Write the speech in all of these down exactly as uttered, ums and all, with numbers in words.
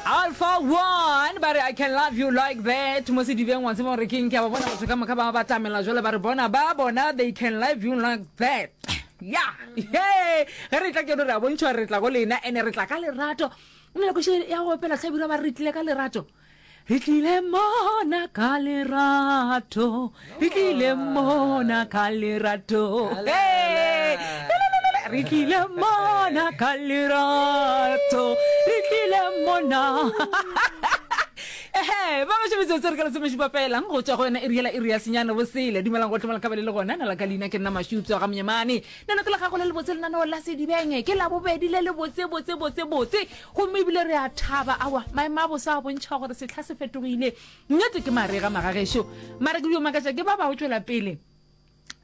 Alpha One ba re I can love you like that mo sedibeng wa tseba gore keng ke a ba bona batho ka moka ba batamela jwale ba re bona ba bona they can love you like that ya he ge re tla ke re a bontšha gore re tla go lena ene re tla ka lerato o ne le koše ya go opela tlhabirwa ba re re tlile ka lerato re tlile mona ka lerato re tlile mona ka lerato Hey! re tlile mona ka lerato re tlile mona ehe ba gašo metsotso re ka lesomešupa felang go tšwa go yona iri yela iri ya senyane bosele dumelang go tlomela kabele le gona na la ka leina ke nna mašupso ga monyemane nano ke la gago le lebotse lenaneo la sedibeng ke la bobedi le le botse botse botse botse gomme ebile re a thaba awa maemo a bosa a bontšha gore setlha se fetogile nnete ke marega magagešo mara ke dio makatša ke ba ba go tšwela pele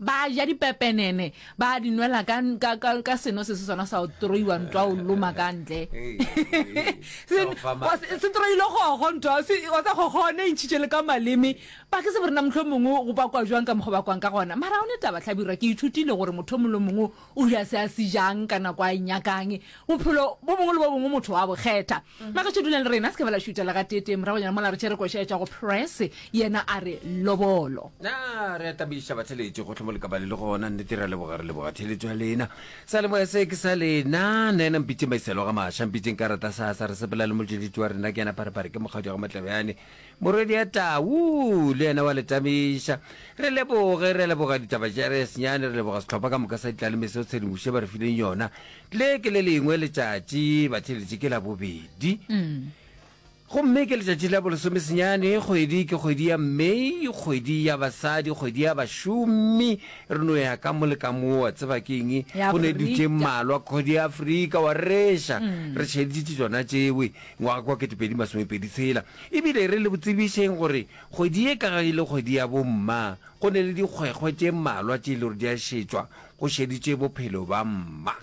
ba ja dipepenene ba di nwela ka, ka, ka, ka seno se se sona sa go troiwa ntwa o loma ka ntle se se troile gogo ntwa se wa tsa gogone e ntšhitše le ka maleme ba ke se borena motlho mongwe go bakwa jwang ka mokgwa ba kwang ka gona mara o ne taba hlabirwa ke ithutile gore motho mongwe le mongwe o ja se a se jang ka nako a e nyakang bophelo bo bongwe le bo bongwe motho wa bo kgetha magašo dulang le rena se ke ba la šutela ga tete moragonyana mola re tšhere koša ya tša go press yena a re lobolo na re a tabiša batheletši gotlhe mo le ka ba le le gona nnete re a leboga re leboga theletšo ya lena sa lemoya se ke sa lena nna ena mpitseng maiselo ga maša mpitseng karata sasa re sepela le motšweletši wa rena ke yena pharepare ke mokgadi wa ga matlebjane morwedi ya tau le yena wa le tamiša re leboge re leboga ditaba tša re senyane re leboga sehlopha ka moka sa ditlaleme seo tshedimoše ba re fileng yona le ke le lengwe letšatši batheletši ke la bobedi gomme ke letšatši la bolesomesenyane kgwedi ke kgwedi ya May kgwedi ya basadi kgwedi ya bašomi re no ya ka mo le ka mo wa tseba ke eng Ya go ne dutše Afrika. mmalwa kgwedi ya Afrika wa reša re tšheditše tšona tšewe ngwaga kwa ketepedi masomepedi tshela ebile re le botsebišeng gore kgwedi ye ka ge e le kgwedi ya bomma go ne le dikgwekgwe tše mmalwa tše e le gore di a šetšwa go šeditše bophelo ba mma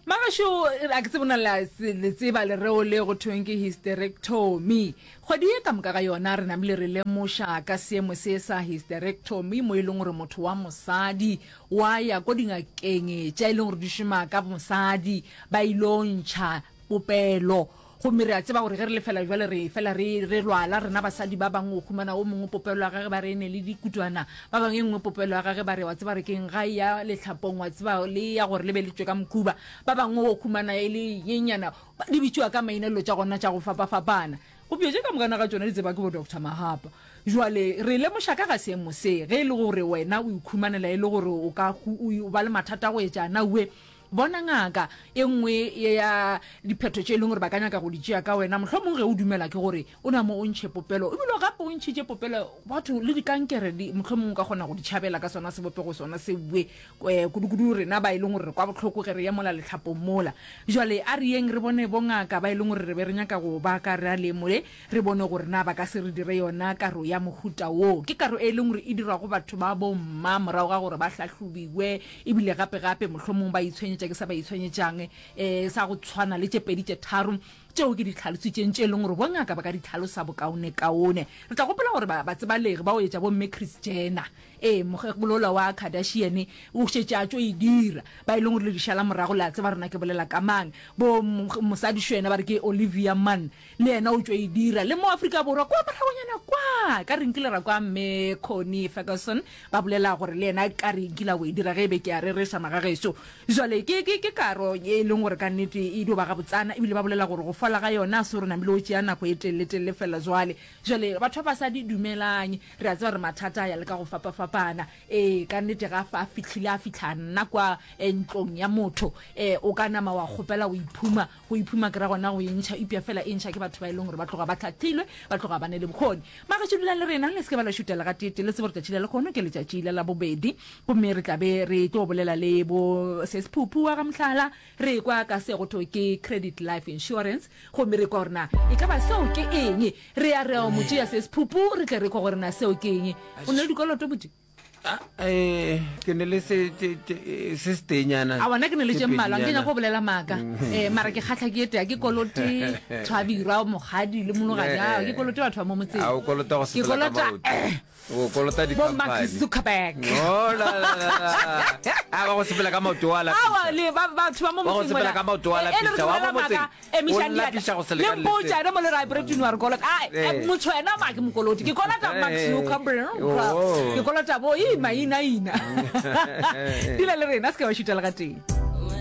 magašo a ke tsebona le tseba lereo le go thweng ke hysterectomy kgwedi ye ka moka ga yona re namile re lemoša ka seemo se sa hysterectomy mo e leng gore motho wa mosadi wa ya ko dingakeng tša e leng gore di šoma ka mosadi ba ilo ntšha popelo gomme re a tseba gore ge re lefela jwale re fela re re lwala rena basadi ba bangwe o humana o mongwe popelo ya gage ba re e ne le dikutwana ba bangwe e nngwe popelo ya gage ba re wa tseba re keng ga e ya lehlapong wa tseba le ya gore le be le tšwe ka mokhuba ba bangwe o humana e le yenyana di bitšiwa ka maina dilo tša gona tša go fapafapana go tše ka mokana ga tšona di tseba ke bo doctor mahapa jwale re lemoša ka ga seemo se ge e le gore wena o ikhumanela e le gore o ka o ba le mathata go etša na ue bona ngaka e nngwe ya diphetho tše e leng gore ba ka nyaka go di tšea ka wena mohlomongwe ge o dumela ke gore o na mo o ntšhe popelo ebile gape o ntšhitše popelo batho le dikankere di mohlomongwe o ka kgona go di tšhabela ka sona sebopego sona se bue um kudukudu rena ba e leng gore re kwa bohloko ge re ye mola letlhapong mola jwale a re yeng re bone bongaka ba e leng gore re be re nyaka go ba ka re a lemole re bone gore na ba ka se re dire yona karo ya mohuta wo ke karo e leng gore e dirwa go batho ba bomma morago ga gore ba hlahlobiwe ebile gape-gape mohlomong ba itshwenyetša ke sa ba itshwenyetšang um sa go tshwana le tše pedi tše tharo tšeo ke di tlhalositšeng tše e leng gore bongaka ba ka di tlhalosa bokaonekaone re tla gopola gore ba tsebalege ba o etša bomme Kris Jenner ee mokgekolola wa Kardashian o šetše a tšo e dira ba e leng gore le dišala morago le a tseba rena ke bolela ka mang bo mosadišo yena ba re ke Olivia Munn le yena o tšo e dira le mo Afrika Borwa kwa moragonyana kwa ka re nkile ra kwa mme Connie Ferguson ba bolela gore le yena ka re nkile o e dira ge e be ke a rereša magagešo jwale ke ke ke karo e leng gore ka nnete e dio ba gabotsana ebile ba bolela gore go fola ga yona se gore namile o tšea nako e telele-telele fela jwale jwale batho ba basadi dumelang re a tseba re mathata a ya le ka go fapafapana ee ka nnete ga fa a fihlile a fihla nna kwa ntlong ya motho um o ka nama wa kgopela go iphuma go iphuma ke ra gona go e ntšha ipya fela e ntšha ke batho ba e leng gore ba tloga ba tlhatlhilwe ba tloga ba ne le bokgoni magašo dulang le rena le se ke ba la šutela ga tete le tsebo re tšatši la lekgono ke letšatši la labobedi gomme re tla be re tlo bolela le bo sesphuphu wa ga mohlala re kwa ka se go thwe ke credit life insurance gomme re kwa gore na e ka ba seo ke eng re ya re ya mo tšea sesphuphu re tle re kwa gore na seo ke eng o ne le dikoloto botse Ah, eh, ke ne le se te- te- se setenyana A bona ke ne le tše mmalwa, ke pedinyana. nyako go bolela maaka. Eh, mara ke kgatlha ke etea, ke kolote Thwabirwa, Mokgadi le Mologadi. Eh. A ke kolote batho ba mo motseng. A o kolota go Ke sepela ka kolota maoto. O kolota bo Mark di-company. Zuckerberg. Oh, la, la, la, la. A ba go sepela ka maoto wa Aowa, lapisa. le ba batho ba mo Wa go motseng sepela mola. ka maoto wa Eh, e le re lapisa, wa bolela mo motseng, maaka, emišang o diatla. lapisa go se Le lekane le mpotša se. ene mo le ra Brett wa re kolota. Ah, Eh. eh, motho ena ma ke mokolote. Ke kolota Mark Eh. Zuckerberg. Oh. Ke kolota bo ii maina ina. Dula le rena se ke wa šuta le ga tee.